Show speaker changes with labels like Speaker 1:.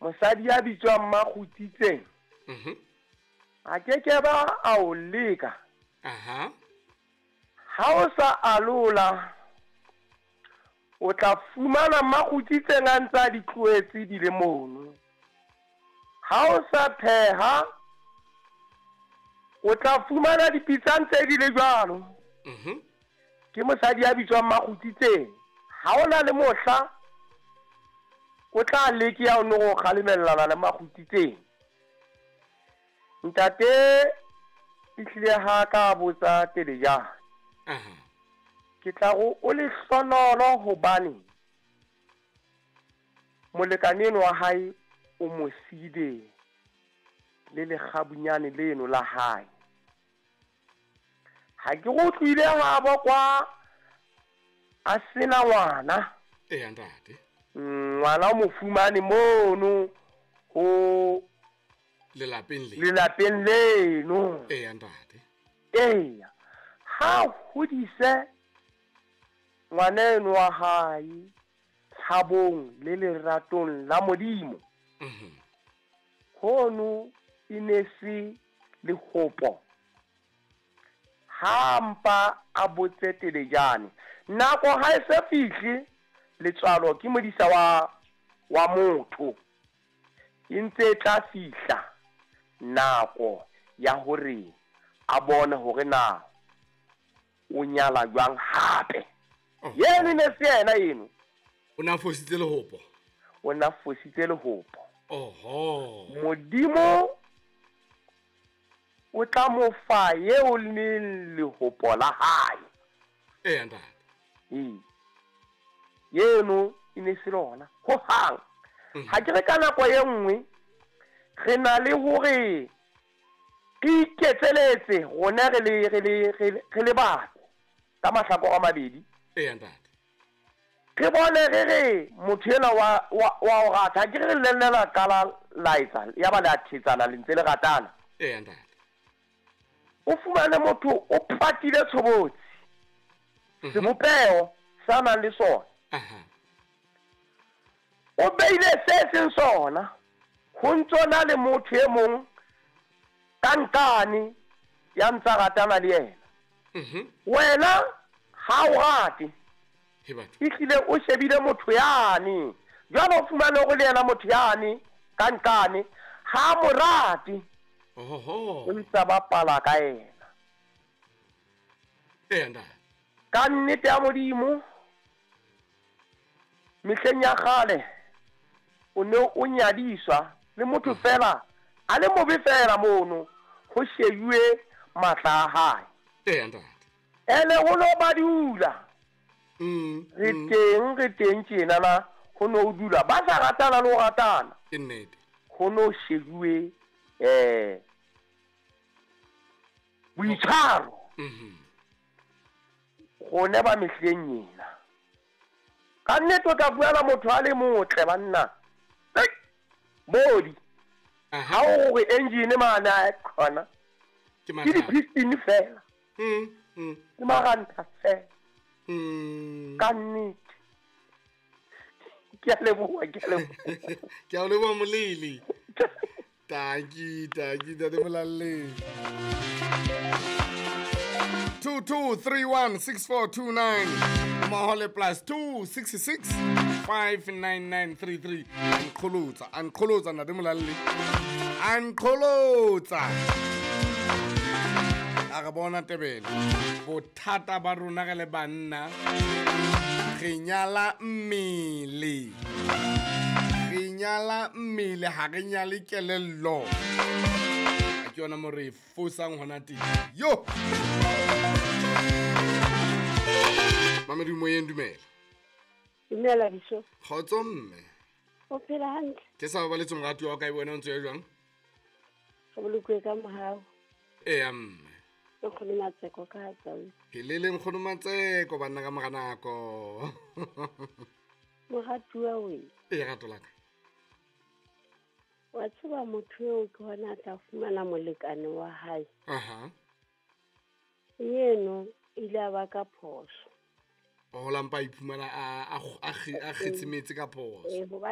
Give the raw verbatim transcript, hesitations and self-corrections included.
Speaker 1: Mosadi ya bitswang Makgutsitseng.
Speaker 2: Mhm.
Speaker 1: A ke ke ba a o leka.
Speaker 2: Aha.
Speaker 1: Ha o sa alola, o tla fumana Makgutsitseng a ntse a di tlohetse di le mono. Ha o sa pheha, o tla fumana dipitsa ntse di le jwalo.
Speaker 2: Mhm.
Speaker 1: Ke mosadi ya bitswang Makgutsitseng. Ha ona le mohla o tla leke ya o no go kgalemellana le Makgutsitseng. Ntate ehlile ha ka botsa Telejane.
Speaker 2: Aha.
Speaker 1: Ke tla go o lehlonolo hobane molekane eno wa hae o mo siile le lekgabunyane leno la hae. Ha ke go utlwile habo kwa a sena ngwana.
Speaker 2: Eya ntate.
Speaker 1: Ngwana o mo fumane mono ho
Speaker 2: lelapeng le.
Speaker 1: Lelapeng leno.
Speaker 2: Eya ntate.
Speaker 1: Eya. Ha hodise ngwana eno wa hae tshabong le leratong la Modimo.
Speaker 2: Mhm.
Speaker 1: Hono e ne se lehopo. Ha mpa a botse Telejane. Nako ha e se fihle, letswalo ke modisa wa, wa motho. E ntse e tla fihla nako ya hore a bone hore na o nyala jwang hape.
Speaker 2: Oh.
Speaker 1: Yeno ne se yena eno.
Speaker 2: O na fositse lehopo.
Speaker 1: O na fositse lehopo.
Speaker 2: Oho.
Speaker 1: Modimo o tla mo fa eo leng lehopo la hae.
Speaker 2: Eya ntate.
Speaker 1: Ee. Yeno e ne se lona ho hang.
Speaker 2: Mhm.
Speaker 1: Ha ke re ka nako e nngwe re na le hore re iketseletse rona re le, re le, re le, re le batho ka mahlakore a mabedi.
Speaker 2: Eya ntate.
Speaker 1: Re bone re re motho enwa wa, wa, wa o rata. Ha ke re le nne la qala laetsa, ya ba le a thetsana le ntse le ratana.
Speaker 2: Eya ntate.
Speaker 1: O fumane motho o patile tshobotsi.
Speaker 2: Mhm.
Speaker 1: Sebopeho sa nang le sona.
Speaker 2: Aha.
Speaker 1: O beile se seng sona. Ho ntso na le motho e mong ka nkane ya ntsa ratana le yena.
Speaker 2: Mhm.
Speaker 1: Wena ha o rate.
Speaker 2: He batho.
Speaker 1: Ehlile o shebile motho yane. Jwale o fumane hore le yena motho yane ka nkane ha mo rate.
Speaker 2: Ohoho.
Speaker 1: O ntsa bapala ka yena.
Speaker 2: Eya ntate.
Speaker 1: Ka nnete ya Modimo, mehleng ya kgale o ne o nyadiswa le motho fela a le mobe fela mono ho shebuwe matla a hae.
Speaker 2: Eya ntate.
Speaker 1: Ene ho no ba dula.
Speaker 2: Mm,
Speaker 1: Re
Speaker 2: mm.
Speaker 1: teng, re teng tjena na ho no dula ba sa ratana le ho ratana.
Speaker 2: Ke nnete.
Speaker 1: Ho no shebuwe, eh, boitshwaro.
Speaker 2: Mhm.
Speaker 1: Rona ba mehleng ena. Ka nnete o tla fumana motho a le motle banna. Hei, bodi.
Speaker 2: Aha.
Speaker 1: Ha o re engine mane a khona.
Speaker 2: Ke
Speaker 1: Ke
Speaker 2: mathata.
Speaker 1: di-piston fela.
Speaker 2: Mm, mm.
Speaker 1: Ke maranta fela.
Speaker 2: Mm.
Speaker 1: Ka nnete. Ke a leboha, ke a leboha.
Speaker 2: Ke a leboha Moleli. Tanki, tanki, ntate Molalleng. Two two three one six four two nine. Mmoho le plus two six six five nine nine three three. Anqolotsa, anqolotsa ntate Molalleng. Anqolotsa. A re bona Tebele. Bothata ba rona re le banna, re nyala mmele. Re nyala mmele, ha re nyale kelello. Ke yona mo re fosang hona teng. Yo! Mamedi moyeng, dumela.
Speaker 3: Dumela, Biso.
Speaker 2: Kgotso mme.
Speaker 3: O phela hantle?
Speaker 2: Ke sa babaletse morati wa ka, wena o ntse o ya jwang?
Speaker 3: Re bolokuwe ka mohau.
Speaker 2: Eya mme.
Speaker 3: Ke Nkgono Matseko ka Tsaung.
Speaker 2: Phelele Nkgono Matseko, banna ka mora nako.
Speaker 3: Moratuwa we.
Speaker 2: Ee, rato la ka.
Speaker 3: Wa tseba motho eo ke hona a tla fumana molekane wa hae.
Speaker 2: Aha.
Speaker 3: Yeno ile a ba ka phoso.
Speaker 2: O la mpa iphumana a, a, a, a kgetse metsi ka phoso.
Speaker 3: Ee, hobane